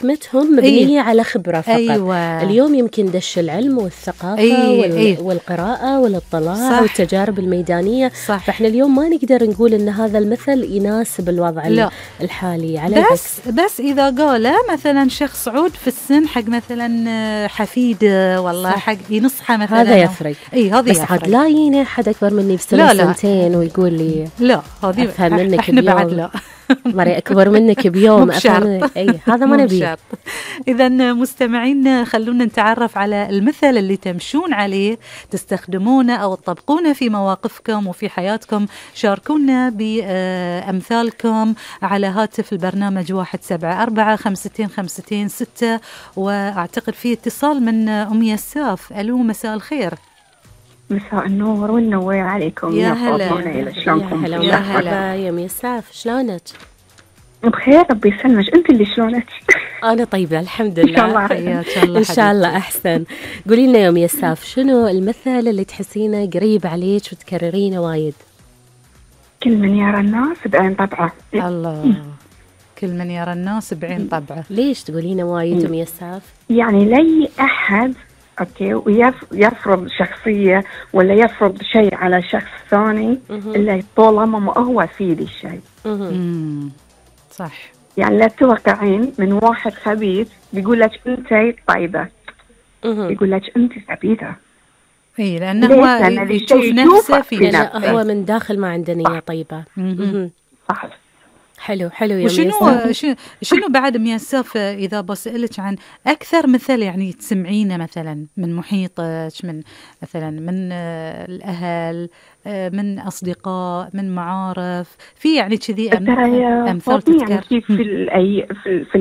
حكمتهم مبنية على خبرة فقط. أيوة. اليوم يمكن دش العلم والثقافة والقراءة والاطلاع والتجارب الميدانية. صح. فإحنا اليوم ما نقدر نقول إن هذا المثل يناسب الوضع الحالي على بس إذا قال مثلا شخص عود في السن حق مثلا حفيده والله حق ينصحه مثلا، هذا يفرق. بس عاد لا يجيني أحد أكبر مني بسنة سنتين ويقول لي لا هذه أفهم منك إحنا بعد لا مري أكبر منك بيوم أفهم. هذا ما نبيه. إذا مستمعين خلونا نتعرف على المثل اللي تمشون عليه تستخدمونه أو تطبقونه في مواقفكم وفي حياتكم. شاركونا بأمثالكم على هاتف البرنامج 174-52-52-6. وأعتقد في اتصال من أم يساف. ألو مساء الخير. مساء النور والنور عليكم. يا هلا. شلونكم؟ يا هلا يا ميساف، شلونك؟ بخير ربي يسلمك. انت اللي شلونك؟ انا طيبه الحمد لله. ان شاء الله ان شاء الله احسن. قولي لنا يا ميساف، شنو المثل اللي تحسينه قريب عليك وتكررينه وايد؟ كل من يرى الناس بعين طبعه. الله. كل من يرى الناس بعين طبعه. ليش تقولينه وايد ميساف؟ يعني لي احد اوكي ويفرض شخصيه ولا يفرض شيء على شخص ثاني الا طالما ما هو في ذي الشيء. صح. يعني لا توقعين من واحد خبيث بيقول لك انت طيبه، يقول لك انت خبيثه. اي لانه هو يشوف نفسه في هو من داخل ما عنده نيه طيبه. صح. حلو يا شنو بعد ميساف إذا بسألك عن أكثر مثل يعني تسمعينه مثلا من محيطك، من مثلا من الأهل، من أصدقاء، من معارف، في يعني كذي أمثال تذكر؟ يعني في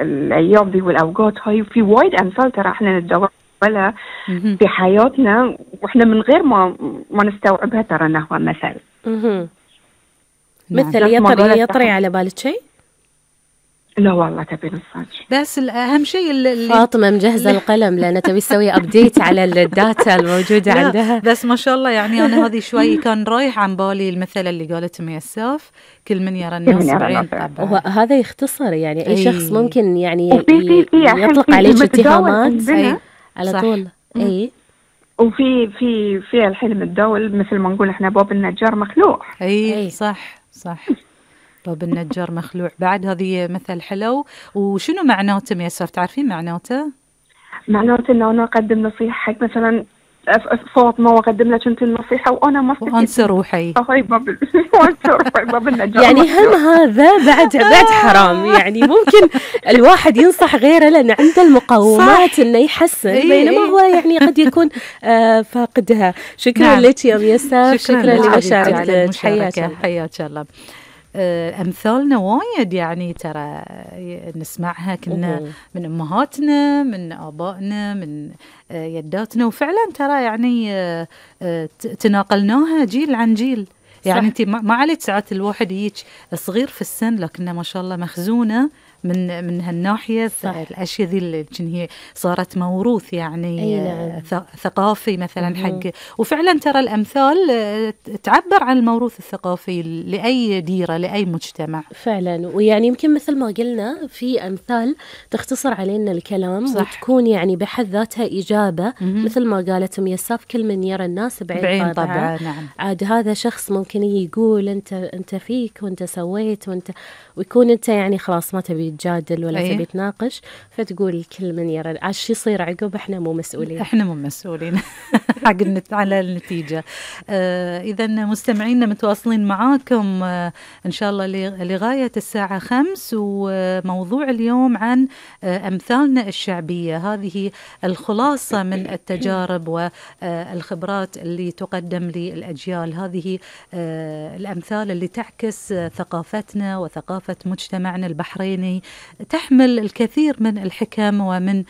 الأيام دي والأوقات هاي في وايد أمثال ترى إحنا ندور ولا في حياتنا وإحنا من غير ما نستوعبها ترى إنه هو مثل. مثل يطري على بالك شيء؟ لا والله تبي نصاج. بس الأهم شيء اللي فاطمة مجهزة القلم لأن تبي تسوي أبديت على الداتا الموجودة عندها. بس ما شاء الله يعني أنا هذه شوي كان رايح عن بالي المثل اللي قالته ميساف، كل من يرى الناس بعين طبعه. هذا يختصر يعني أي شخص ممكن يعني يطلق عليك اتهامات على طول. وفي الحين متداول مثل ما نقول احنا باب النجار مخلوع. اي صح باب النجار مخلوع. بعد هذه مثل حلو. وشنو معناته ميساف؟ تعرفين معناته؟ معناته انه انا اقدم نصيحه حق مثلا فاطمه واقدم لك انت النصيحه وانا ما وانسى روحي. باب النجار يعني هم هذا بعد حرام. يعني ممكن الواحد ينصح غيره لأن عنده المقومات إنه يحسن، بينما هو يعني قد يكون فاقدها. شكرا لك يا ميساف، شكرا لمشاركتك. حياك الله. أمثالنا وايد يعني ترى نسمعها كنا من أمهاتنا، من آبائنا، من يداتنا، وفعلا ترى يعني تناقلناها جيل عن جيل. يعني انت ما عليك ساعات الواحد يجيك صغير في السن لكنه ما شاء الله مخزونه من هالناحيه. الاشياء ذي اللي هي صارت موروث يعني ثقافي مثلا حق. وفعلا ترى الامثال تعبر عن الموروث الثقافي لاي ديره لاي مجتمع فعلا. ويعني يمكن مثل ما قلنا في امثال تختصر علينا الكلام وتكون يعني بحد ذاتها اجابه مثل ما قالت ميساف، كل من يرى الناس بعين طبعه. نعم. عاد هذا شخص ممكن يقول انت فيك وانت سويت ويكون انت يعني خلاص ما تبي تجادل ولا تبي تناقش، فتقول كل من يرى. عاش يصير عقب احنا مو مسؤولين حق على النتيجة. إذا مستمعينا متواصلين معاكم إن شاء الله لغاية الساعة 5. وموضوع اليوم عن أمثالنا الشعبية. هذه الخلاصة من التجارب والخبرات اللي تقدم للأجيال. هذه الأمثال اللي تعكس ثقافتنا وثقافة مجتمعنا البحريني، تحمل الكثير من الحكم ومن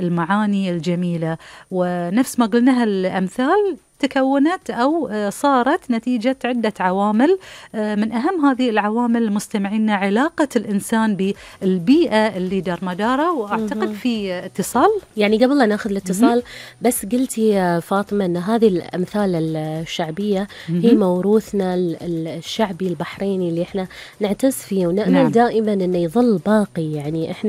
المعاني الجميلة. ونفس ما قلنا الأمثال تكونت أو صارت نتيجة عدة عوامل. من أهم هذه العوامل مستمعينا علاقة الإنسان بالبيئة اللي دار مداره. وأعتقد في اتصال، يعني قبل لا ناخذ الاتصال بس قلتي يا فاطمة أن هذه الأمثال الشعبية هي موروثنا الشعبي البحريني اللي احنا نعتز فيه ونأمل دائما أنه يظل باقي. يعني احنا